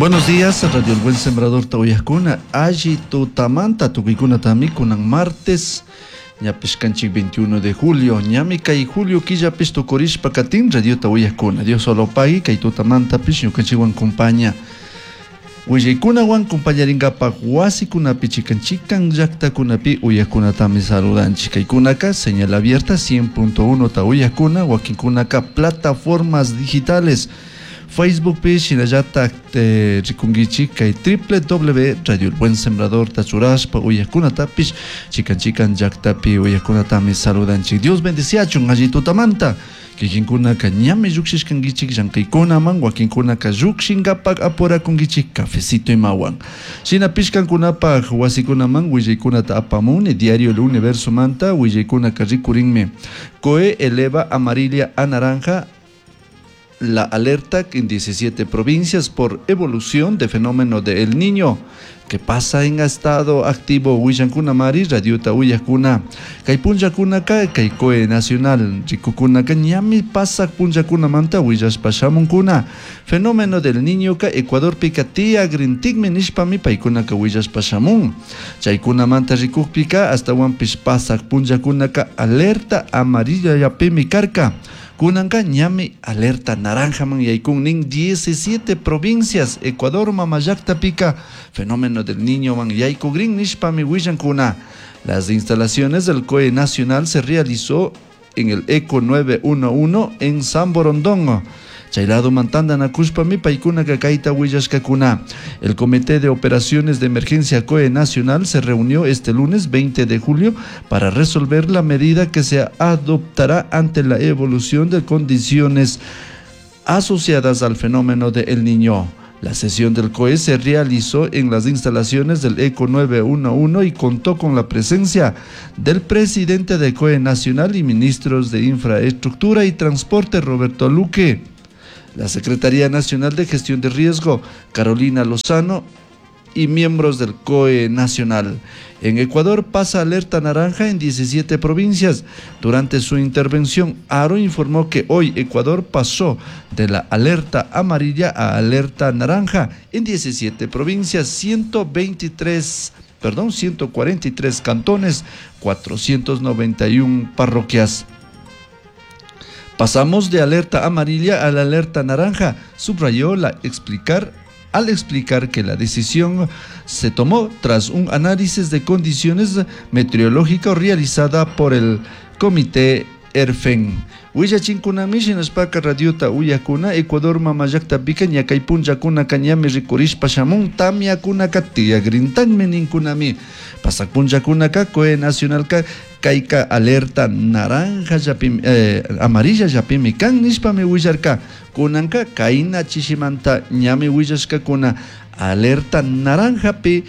Buenos días, Radio El Buen Sembrador ta uyajcuna. Alli tutamanta tucuicunatami kunan martes ñapish kanchik 21 de julio. Ñami kay julio killapish tukurishpa katin radiota uyajcuna. Dios solo pagui kay tutamantapish ñukanchikwan compaña. Willaykunawan compañarinkapak wasikunapi chikan chikan llaktakunapi uyajkunatami saludanchik. Kaykunaka señal abierta 100.1 ta uyajkuna, wakinkunaka plataformas digitales. Facebook pi shinallatak rikunkichik kay www Radio El Buen Sembrador ta churashpa uyajkunatapish chikan chikan llaktapi uyajkunatami saludanchik. Dios bendiciachun alli tutamanta. Kikinkunaka ñami llukshishkankichik llankaykunaman, wakinkunaka llukshinkapak apurakunkichik cafecito imawan. Shinapish kankunapak wasikunaman willaykunata apamuni Diario El Universo manta willaykunaka rikurinmi. COE eleva amarilla a naranja la alerta en 17 provincias por evolución de fenómeno de El Niño que pasa en estado activo. Willankuna mari radiota uyajkuna kay punllakunaka kay COE Nacional rikukunaka ñami pasak punllakunamanta willashpa shamunkuna. Fenómeno del Niño ka Ecuadorpika tiyagrintikmi nishpami paykunaka willashpa shamun. Chaykunamanta rikukpika astawanpish pasak punllakunaka alerta amarilla llapimi karka. Kunanka ñami alerta naranjaman yaykun nin 17 provincias Ecuador mamallaqtapika fenómeno del Niño man yaykugrin nishpami willankuna. Las instalaciones del COE Nacional se realizó en el ECO 911 en San Borondón. Chaylado mantandanakushpami paykunaka kayta willashkakuna. El Comité de Operaciones de Emergencia COE Nacional se reunió este lunes 20 de julio para resolver la medida que se adoptará ante la evolución de condiciones asociadas al fenómeno de El Niño. La sesión del COE se realizó en las instalaciones del ECO 911 y contó con la presencia del presidente del COE Nacional y ministros de Infraestructura y Transporte, Roberto Luque, la Secretaría Nacional de Gestión de Riesgo, Carolina Lozano, y miembros del COE Nacional. En Ecuador pasa alerta naranja en 17 provincias. Durante su intervención, Aro informó que hoy Ecuador pasó de la alerta amarilla a alerta naranja en 17 provincias, 123, perdón, 143 cantones, 491 parroquias. Pasamos de alerta amarilla a la alerta naranja, subrayó la explicar al explicar que la decisión se tomó tras un análisis de condiciones meteorológicas realizada por el Comité ERFEN. Willachinkunami shinashpaka radiota uyakuna Ecuador mamallaqtapika ñakay punllakunaka ñami rikurishpa shamun tamyakunaka tiyagrintanmi ninkunami. Pasak punllakunaka COE Nacionalka kayka alerta naranja llapimi, amarilla llapimi kan nishpami willarka. Kunanka kayna chishimanta ñami willashkakuna alerta naranjapi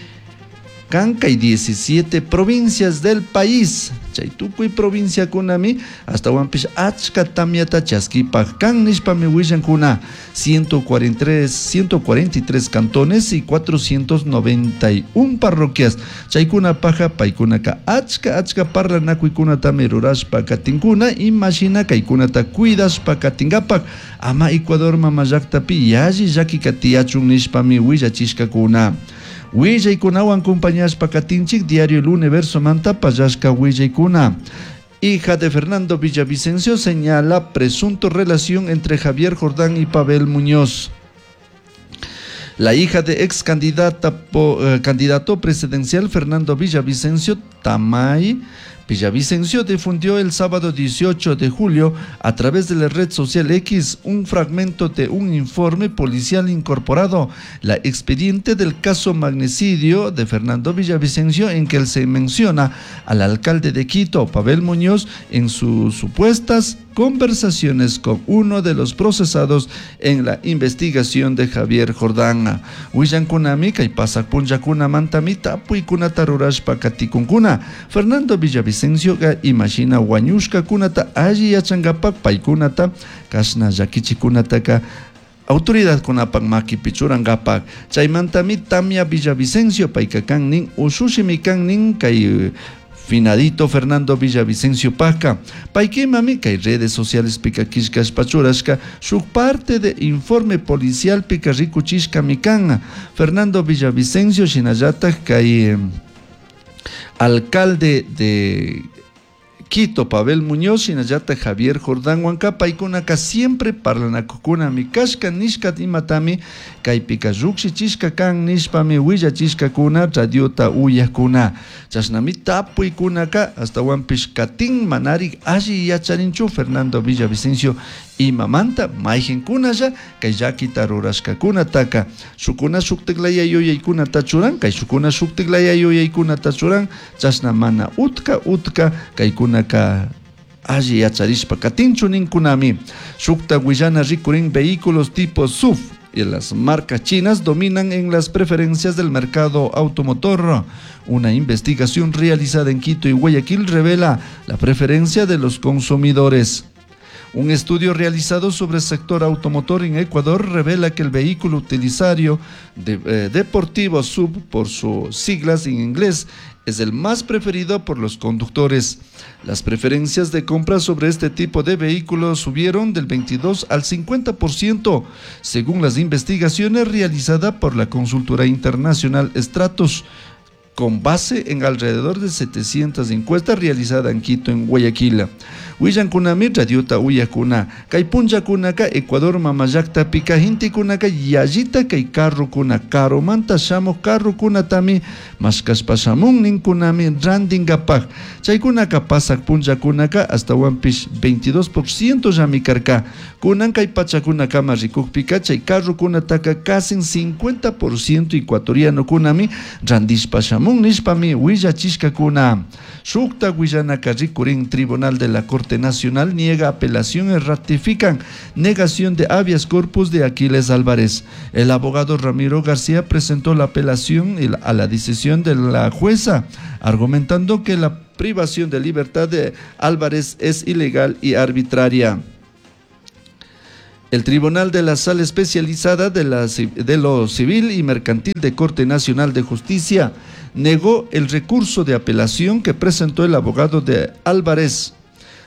kan kay 17 provincias del país. Chay tukuy provinciakunami astawanpish achka tamyata chaskipaj kan nishpami willankuna. 143 cantones y 491 parroquias. Chaykuna paja paykunaka achka achka parlanakuykunatami rurashpa katinkuna imashina kaykunata cuidashpa katinkapak ama Ecuador mamallaqtapi yalli llakika tiyachun nishpami willachishkakuna. Willaykunawan compañashpa katinchik Diario El Universo manta pallashka willaykuna. Hija de Fernando Villavicencio señala presunto relación entre Javier Jordán y Pavel Muñoz. La hija de ex candidato presidencial Fernando Villavicencio, Tamay Villavicencio, difundió el sábado 18 de julio a través de la red social X un fragmento de un informe policial incorporado, la expediente del caso magnicidio de Fernando Villavicencio, en que se menciona al alcalde de Quito, Pavel Muñoz, en sus supuestas conversaciones con uno de los procesados en la investigación de Javier Jordán. Willankunami kay pasak punllakunamantami tapuykunata rurashpa katikunkuna. Fernando Villavicencioka imashina wañushkakunata alli yachankapak paykunata kashna llakichikunataka autoridadkunapak makipi churankapak. Chaymantami Tamia Villavicencio payka kan nin ushushimi kan nin kay Finadito Fernando Villavicencio pajka. Paykimami kay redes socialespika killkashpa churashka shuk parte de informe policialpika rikuchishkami kan. Fernando Villavicencio shinallatak kay alcalde de Quito, Pavel Muñoz, shinallata Javier Jordán huanca, paykunaka siempre parlanakukunami kashka nishka imatami kaypika llukshichishka kan nishpami willachishkakuna radiota uyakuna. Chashnami tapuykunaka astawanpish katin manarik alli yacharinchu Fernando Villavicencio imamanta mayqinkunalla kay llakita rurashkakunataka shukuna shuktiklaya yuyaykunata churan kay shukuna shuktiklaya yuyaykunata churan chashna mana utka utka kaykunaka alli yacharishpa katinchu ninkunami. Shukta willana rikurin vehículos tipo SUV y las marcas chinas dominan en las preferencias del mercado automotor. Una investigación realizada en Quito y Guayaquil revela la preferencia de los consumidores. Un estudio realizado sobre el sector automotor en Ecuador revela que el vehículo utilizario deportivo SUV, por sus siglas en inglés, es el más preferido por los conductores. Las preferencias de compra sobre este tipo de vehículos subieron del 22 al 50%, según las investigaciones realizadas por la consultora internacional Stratos, con base en alrededor de 700 encuestas realizadas en Quito, en Guayaquil. Willankunami radiota uyakuna, kay punllakunaka Ecuador mamallakta-pika gentekunaka yallita kay carrokuna, karumanta shamuj carrokunatami mashkashpa shamun ninkunami randinkapaj. Chaykunaka pasak punllakunaka astawanpish 22% llami karka. Kunan kay pachakunakama rikukpika chay carrokunataka casi 50% ecuatorianokunami randishpa shamun nishpami willachishkakuna. Shukta willanaka rikurin Tribunal de la Corte Nacional niega apelación y ratifican negación de habeas corpus de Aquiles Álvarez. El abogado Ramiro García presentó la apelación a la decisión de la jueza, argumentando que la privación de libertad de Álvarez es ilegal y arbitraria. El Tribunal de la Sala Especializada de lo Civil y Mercantil de Corte Nacional de Justicia negó el recurso de apelación que presentó el abogado de Álvarez,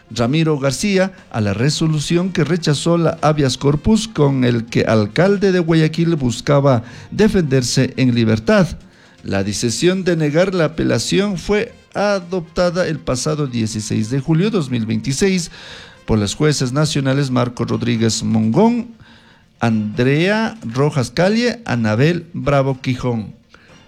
Ramiro García, a la resolución que rechazó la habeas corpus con el que alcalde de Guayaquil buscaba defenderse en libertad. La decisión de negar la apelación fue adoptada el pasado 16 de julio de 2026 por las jueces nacionales Marco Rodríguez Mongón, Andrea Rojas Calle, Anabel Bravo Quijón.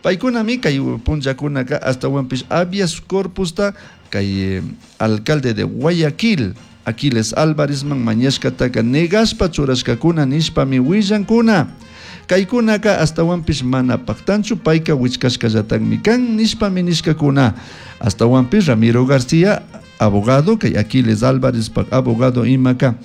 Paykunami kay punllakunaka astawanpish habeas corpusta kay alcalde de Guayaquil, Aquiles Álvarez man mañashkataka negashpa churashkakuna nishpami willankuna. Kaykunaka astawanpish mana paktanchu payka wichkashkallatakmi kan nishpami nishkakuna. Astawanpish Ramiro García, abogado, kay Aquiles Álvarez pak abogado imaka,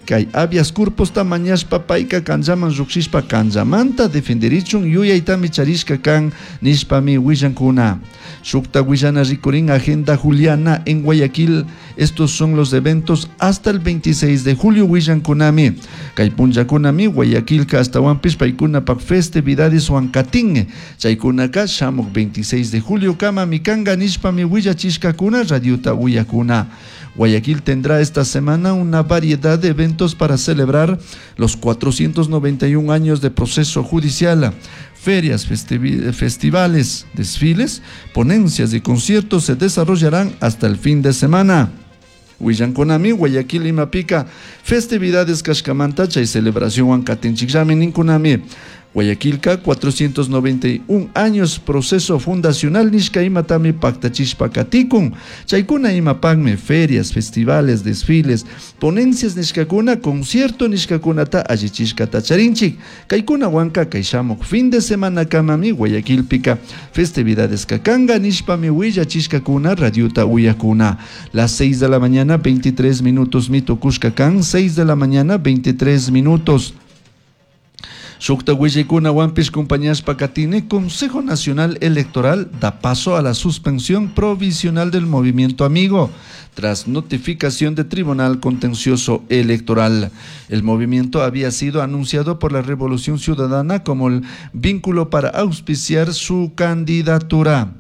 kay habeas corpusta mañashpa payka kanllaman llukshishpa kanllamanta defenderichun yuyaytami charishka kan nishpami willankuna. Shukta willana rikurin agenda Juliana en Guayaquil. Estos son los eventos hasta el 26 de julio willankunami. Kay punllakunami Guayaquilka astawanpish paykunapak festividades huancatín. Chaykunaka shamuk 26 de julio kama mikanga nishpami willachishkakuna radiota uyakuna. Guayaquil tendrá esta semana una variedad de eventos para celebrar los 491 años de proceso judicial. Ferias, festivales, desfiles, ponencias y conciertos se desarrollarán hasta el fin de semana. Willankunami, Guayaquil, Imapica, festividades kashkamanta chay celebración huancatinchikllami ninkunami. Guayaquilka, 491 años, proceso fundacional nishka imatami paktachishpa katikun. Chaykuna imapakmi ferias, festivales, desfiles, ponencias nishkakuna, concierto nishkakunata allichishkata charinchik. Kaykuna wanka kay shamuk fin de semana kamami Guayaquilpika festividades kakanga nishpami willachishkakuna radiota uyakuna. Las 6 de la mañana 23 minutos mitukushka kan, 6 de la mañana 23 minutos. Shukta willaykuna wanpish compañías katini, Consejo Nacional Electoral da paso a la suspensión provisional del Movimiento Amigo tras notificación de Tribunal Contencioso Electoral. El movimiento había sido anunciado por la Revolución Ciudadana como el vínculo para auspiciar su candidatura.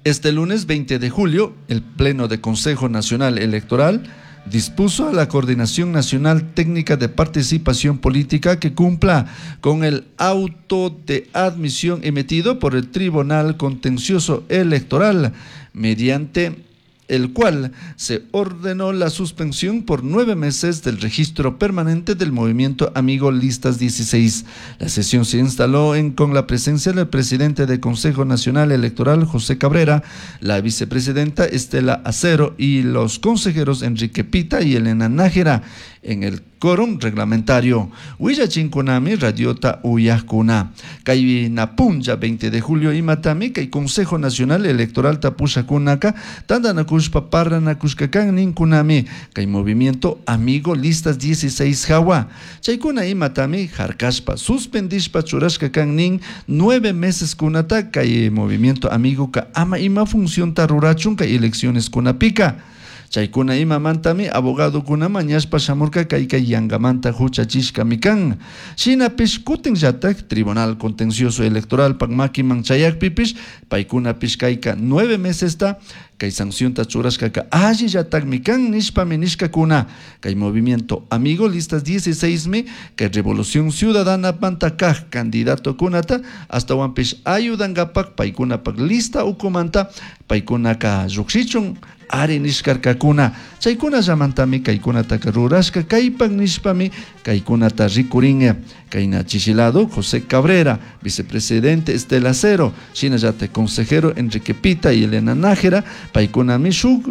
Este lunes 20 de julio, el Pleno de Consejo Nacional Electoral dispuso a la Coordinación Nacional Técnica de Participación Política que cumpla con el auto de admisión emitido por el Tribunal Contencioso Electoral, mediante el cual se ordenó la suspensión por 9 meses del registro permanente del movimiento Amigo Listas 16. La sesión se instaló con la presencia del presidente del Consejo Nacional Electoral, José Cabrera, la vicepresidenta Estela Acero y los consejeros Enrique Pita y Elena Nájera en el quórum reglamentario. Willachinkunami radiota uyajkuna. Kay napunlla 20 de julio imatami kay Consejo Nacional Electoral tapushakunaka tantanakushpa parranakushkakan ninkunami kay movimiento Amigo Listas 16 hawa. Chaykuna imatami harkashpa suspendishpa churashka kan nin 9 meses kunata kay movimiento Amigo ka ama ima funcionta rurachun kay elecciones kunapika. Chaykuna imamantami abogadokuna mañashpa shamurka kay kay yangamanta huchachishkami kan. Shinapish kutinllatak Tribunal Contencioso Electoral pak makiman chayakpipish paykunapish kayka 9 mesesta kay sancionta churashkaka allillatakmi kan nishpami nishkakuna. Kay movimiento Amigo Listas 16 mi kay Revolución Ciudadana manta kaj candidato kunata astawanpish ayudankapak paykunapak lista ukumanta paykunaka llukshichun ari nishkarkakuna. Chaykuna llamantami kaykunataka rurashka kaypak nishpami kaykunata rikurin. Kayna chishilado José Cabrera, vicepresidente Estela Acero, shinallatak consejero Enrique Pita y Elena Nájera, paykunami shuk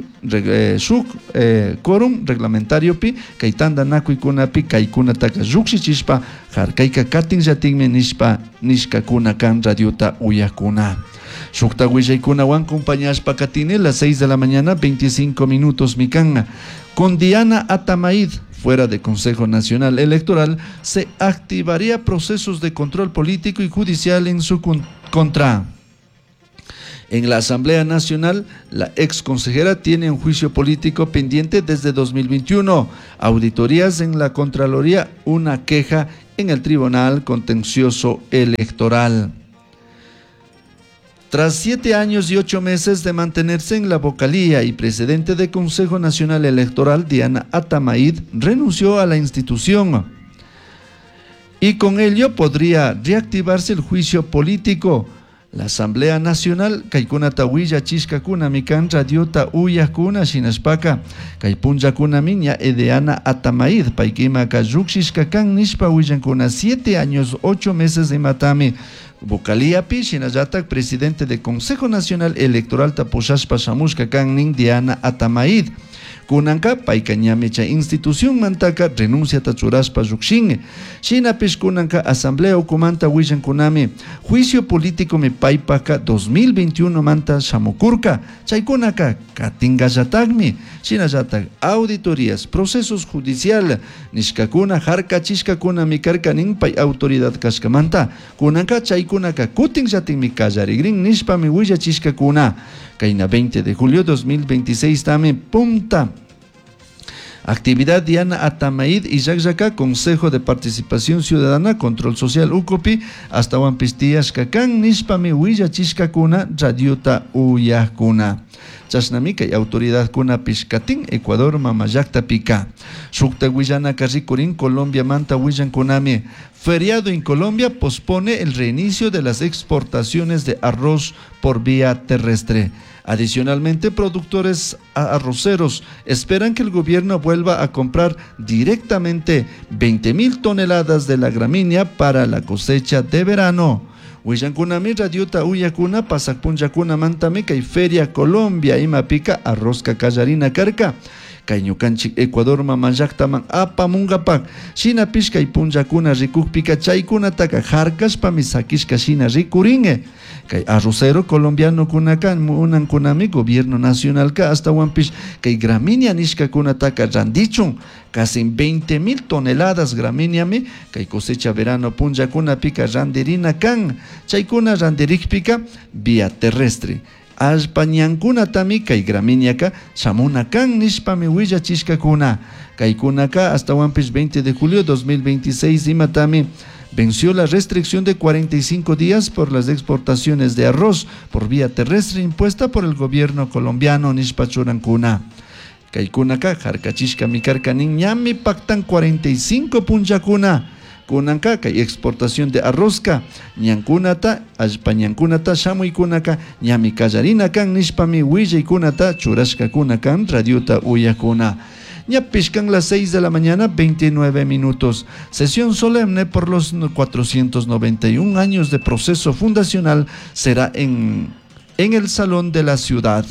quórum reglamentario pi kay tantanakuykunapi kaykunataka llukshichishpa harkayka katinllatinmi nishpa nishkakuna kan radiota uyakuna. Shukta willaykunawan acompañashpa katini las 6 de la mañana 25 minutos mikan. Con Diana Atamaid fuera de Consejo Nacional Electoral se activaría procesos de control político y judicial en su contra. En la Asamblea Nacional, la ex consejera tiene un juicio político pendiente desde 2021. Auditorías en la Contraloría, una queja en el Tribunal Contencioso Electoral. Tras 7 años y 8 meses de mantenerse en la vocalía y presidente del Consejo Nacional Electoral, Diana Atamaid renunció a la institución. Y con ello podría reactivarse el juicio político. La Asamblea Nacional, kaykunata willachishkakuna mikan radiota uyakuna shinashpaka, kay punllakuna miña Diana Atamaid, paykimaka llukshishkakan nishpa willankuna 7 años 8 meses de matami. Vocalíapi, shinallatak presidente del Consejo Nacional Electoral tapushashpa shamushka kan nin Diana Atamaid. Kunanka payka ñami chay institución mantaka renunciata churashpa llukshin. Shinapish kunanka asamblea ukumanta willankunami juicio político mi paypaka 2021 manta shamukurka. Chaykunaka katingallatakmi. Shinallatak auditorías, procesos judicial nishkakuna harkachishkakuna mi karka nin pay autoridad kashkamanta. Kunanka chaykunaka kutinllatinmi kallarigrin nishpami willachishkakuna. Kayna 20 de julio 2026 tami punta. Actividad Diana Atamaid y Llakllaka, Consejo de Participación Ciudadana, Control Social Ucopi, hasta Huampistías Kakan, nishpami willachishkakuna, radiota uyakuna. Chashnami kay autoridad kuna pishkatin, Ecuador mamallakta pika. Shukta willana rikurin, Colombia manta willankunami. Feriado en Colombia pospone el reinicio de las exportaciones de arroz por vía terrestre. Adicionalmente, productores arroceros esperan que el gobierno vuelva a comprar directamente 20.000 toneladas de la gramínea para la cosecha de verano. Willankunami radiota uyakuna pasakpunllakuna mantami kay Feria Colombia imapika arrozka kallarina karka. Kay ñukanchik Ecuador mamallaktaman apamunkapak. Shinapish kay punllakuna rikukpika chaykunataka harkashpami sakishka shina rikurin. Kay arrocero colombiano kunaka munankunami gobierno nacionalka astawanpish kay gramínea nishkakunataka randichun. Casi 20.000 toneladas gramíneami kay cosecha verano punllakunapika randirina kan. Chaykuna randirikpika vía terrestre. Allpañankunatami kay gramíneaka shamuna kan nishpami willachishkakuna. Kaykunaka astawanpish 20 de julio 2026 imatami Venció la restricción de 45 días por las exportaciones de arroz por vía terrestre impuesta por el gobierno colombiano nishpa churancuna. Kaykunaka harkachishkami karka nin ñami paktan 45 punllakuna. Kunanka kay exportación de arrozka ñankunata allpa ñankunata shamuykunaka ñami kallarina kan nishpami willaykunata churashkakuna kan radiota uyakuna. Ñapish kan las 6 de la mañana, 29 minutos. Sesión solemne por los 491 años de proceso fundacional será en el Salón de la Ciudad.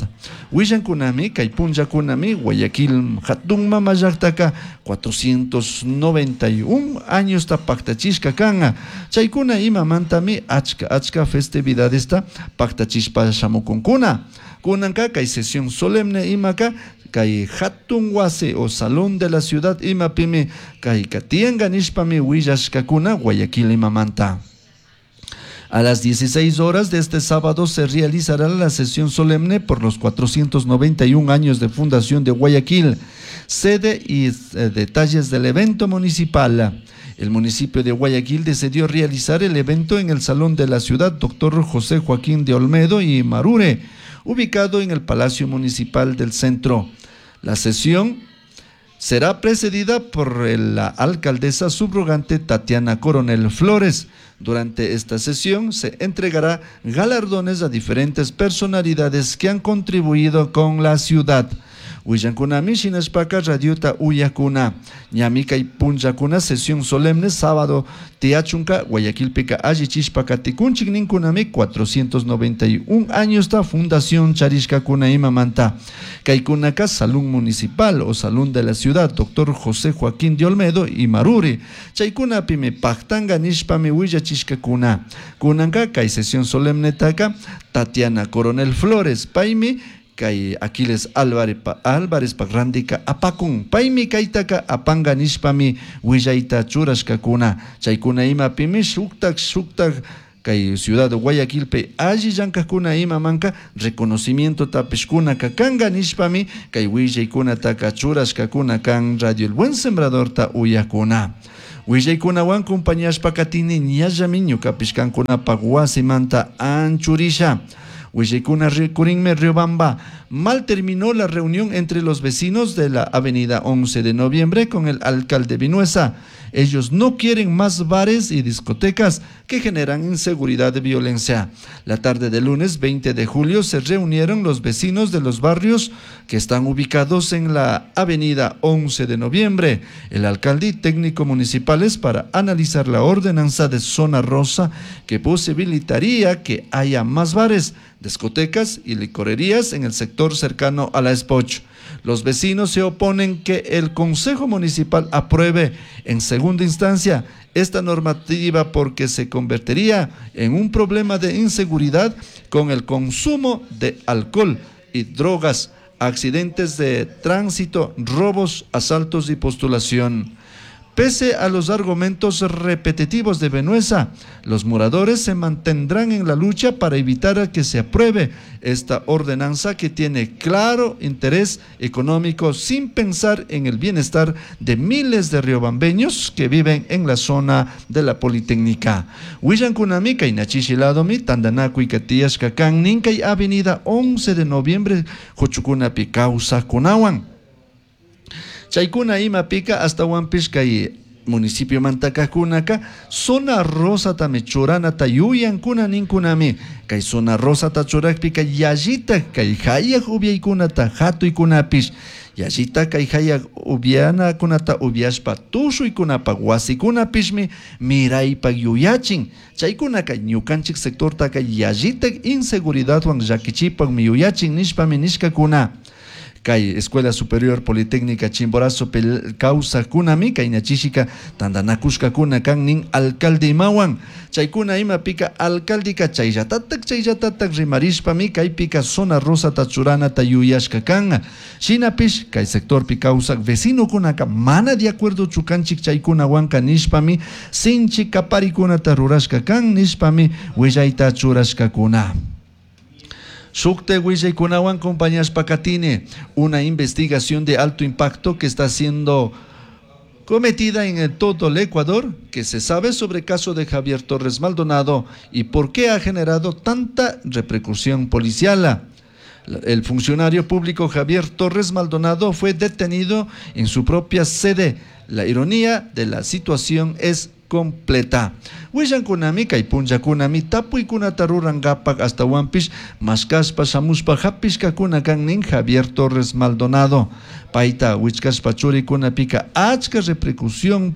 Willankunami, kay punllakunami, Guayaquil hatun mama llaktaka 491 años ta paktachishka kan. Chaykuna imamantami achka achka festividadesta paktachishpa shamukunkuna. Kunanka kay sesión solemne imaka kay hatun wasi o Salón de la Ciudad imapimi kay tiyanka nishpami willashkakuna Guayaquil imamanta. A las 16 horas de este sábado se realizará la sesión solemne por los 491 años de fundación de Guayaquil. Sede y detalles del evento municipal. El municipio de Guayaquil decidió realizar el evento en el Salón de la Ciudad Dr. José Joaquín de Olmedo y Marure, ubicado en el Palacio Municipal del Centro. La sesión será precedida por la alcaldesa subrogante Tatiana Coronel Flores. Durante esta sesión se entregará galardones a diferentes personalidades que han contribuido con la ciudad. Willankunami shinashpaka radiota uyakuna. Ñami kay punllakuna sesión solemne sábado tiyachunka Guayaquilpika allichishpa katikunchik ninkunami 491 años ta fundación charishkakuna imamanta. Kaykunaka Salón Municipal o Salón de la Ciudad Dr. José Joaquín de Olmedo y Maruri. Chaykunapimi paktanga nishpami willachishkakuna. Kunanka kay sesión solemne taka Tatiana Coronel Flores paymi kay Aquiles Álvarez Álvarez randika apakun paymi kaytaka apanga nishpami willayta churashkakuna chaykuna imapimi shuktak shuktak kay ciudad de Guayaquilpi alli llankakuna imamanka reconocimiento tapishkunaka kanga nishpami kay willaykunataka churashkakuna kan Radio El Buen Sembradorta uyakuna. Willaykunawan compañashpa katini ñallami ñukapish kankunapak wasimanta anchurisha. Willaykuna rikurinmi Riobamba. Mal terminó la reunión entre los vecinos de la avenida 11 de noviembre con el alcalde Vinuesa. Ellos no quieren más bares y discotecas que generan inseguridad y violencia. La tarde del lunes 20 de julio se reunieron los vecinos de los barrios que están ubicados en la avenida 11 de noviembre, el alcalde y técnico municipales para analizar la ordenanza de zona rosa que posibilitaría que haya más bares, discotecas y licorerías en el sector cercano a la Espoch. Los vecinos se oponen que el Consejo Municipal apruebe en segunda instancia esta normativa porque se convertiría en un problema de inseguridad con el consumo de alcohol y drogas, accidentes de tránsito, robos, asaltos y postulación. Pese a los argumentos repetitivos de Vinuesa, los moradores se mantendrán en la lucha para evitar que se apruebe esta ordenanza que tiene claro interés económico sin pensar en el bienestar de miles de riobambeños que viven en la zona de la Politécnica. Willankunami kay nachishiladomi tandanakuyka tiyashka kan nin kay avenida 11 de noviembre huchukunapi kawsaqkunawan. Chaykuna imapika astawanpish kay municipio mantakajkunaka zona rosatami churanata yuyankuna ninkunami kay zona rosata churakpika yallita kay hayak upiaykunata hatuykunapish yallita kay hayak upianakunata upiashpa tushuykunapak wasikunapishmi miraypak yuyachin chaykunaka ñukanchik sectortaka yallita inseguridadwan llakichipakmi yuyachin nishpami nishkakuna. Kay Escuela Superior Politécnica Chimborazo kawsaqkunami kay ñachishika tantanakushkakuna kan nin alcalde imawan chaykuna imapika alcaldeka chayllatatak chayllatatak rimarishpami kaypika zona rosata churanata yuyashka kan shinapish kay sectorpi kawsak vecinokunaka mana de acuerdo chukanchik chaykunawanka nishpami sinchi kaparikunata rurashka kan nishpami willayta churashkakuna. Shukte willaykunawan compañashpa katini, una investigación de alto impacto que está siendo cometida en todo el Ecuador, que se sabe sobre el caso de Javier Torres Maldonado y por qué ha generado tanta repercusión policial. El funcionario público Javier Torres Maldonado fue detenido en su propia sede. La ironía de la situación es completa. Willankunami kay punllakunami tapuykunata rurankapak ashtawanpish mashkashpa shamushpa hapishkakuna kan nin Javier Torres Maldonado. Payta wichkashpa churikunapika achka repercusión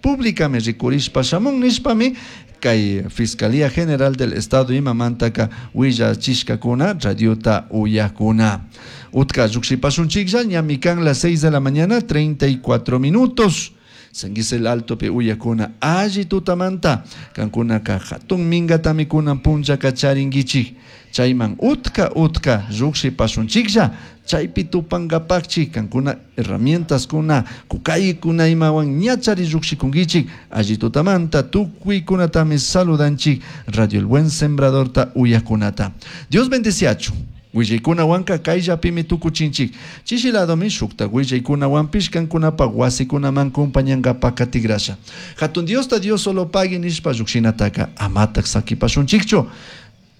públicami rikurishpa shamun nishpami kay Fiscalía General del Estado imamantaka willachishkakuna radiota uyakuna. Utka llukshipashunchiklla ñami kan las 6 de la mañana 34 minutos. San Gisel Altopi uyakuna alli tutamanta kankunaka hatun mingatami kunan punllaka charinkichik chayman utka utka llukshipashunchiklla chaypi tupankapakchik kankuna herramientaskuna kukaykuna imawan ñachari llukshikunkichik alli tutamanta tukuykunatami saludanchik Radio El Buen Sembradorta uyakunata. Dios bendeciachun. Willaykunawanka kayllapimi tukuchinchik. Chishi ladomi shukta willaykunawanpish kankunapak wasikunaman kumpañankapak katigrasha. Hatun Diosta Dios solo pagui nishpa llukshinataka amatak sakipashunchikchu.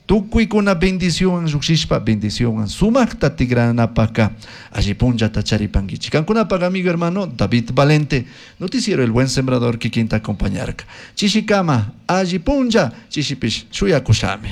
Tukuykuna bendicionwan llukshishpa bendicionwan sumakta tigranapaka alli punllata charipankichik. Kankunapak amigo hermano David Valente, noticiero El Buen Sembrador kikinta acompañarka. Chishikama alli punlla, chishipish shuyakushami.